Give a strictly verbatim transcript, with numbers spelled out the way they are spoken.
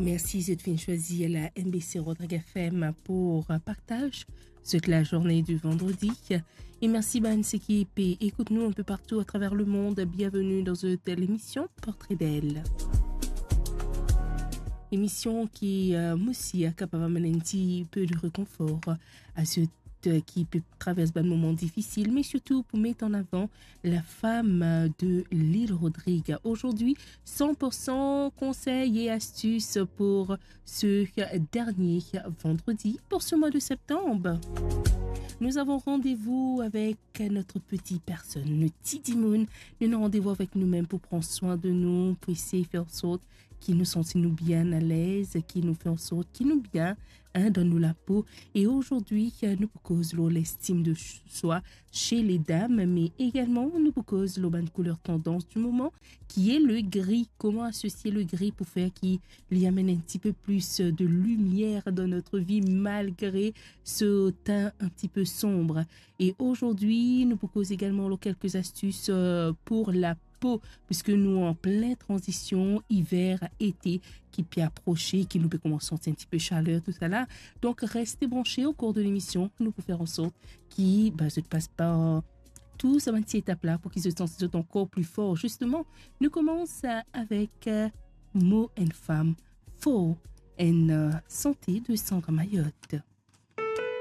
Mersi zot finn swazir la M B C Rodrigues F M pou partaz zot lazourne di vandredi. E mersi bann seki pe ekout nou inpe partou atraver lemond. Bienveni dan zot lemision Portrait d'elle. Lemision ki, euh, mo sir, a kapav amenn enn tipe de rekonfor a zot ki pe travers bann moman difisil, me sirtou pou met an avan la femme de l'île Rodrigues. Aujourd'hui, cent pour cent conseils et astuces pour ce dernier vendredi pour ce mois de septembre. Nous avons rendez-vous avec notre petit personne, nou ti dimoun. Nou ena randevou avek nou mem pou pran swin de nou, pou esey fer an sort ki nou santi nou bien alez, ki nou fer an sort ki nou bien, hein, dan nou lapo. E azordi, nou pou koz lor lestim de swa chez les dames, me egalman nou pou koz lor bann kouler tandans di moman, ki e le gri. Koman asosie le gri pou fer ki li amenn enn tipe plis de limier dan notre vie malgre ce teint un petit peu sombre. E azordi, nou pou koz egalman lor kelke astis, euh, pour la po, piske nou an plin tranzision iver, ete ki pe aprose, ki nou pe koumans santi enn tipe saler, tousala. Donk, reste branche o kour de lemision, nou pou fer an sort ki, ba, zot pas par tou sa bann ti etap la pou ki zot santi zot ankor pli for. Zisteman, nou koumans, euh, avek, euh, mo enn fam for, enn, euh, sante de Sandra Mayotte.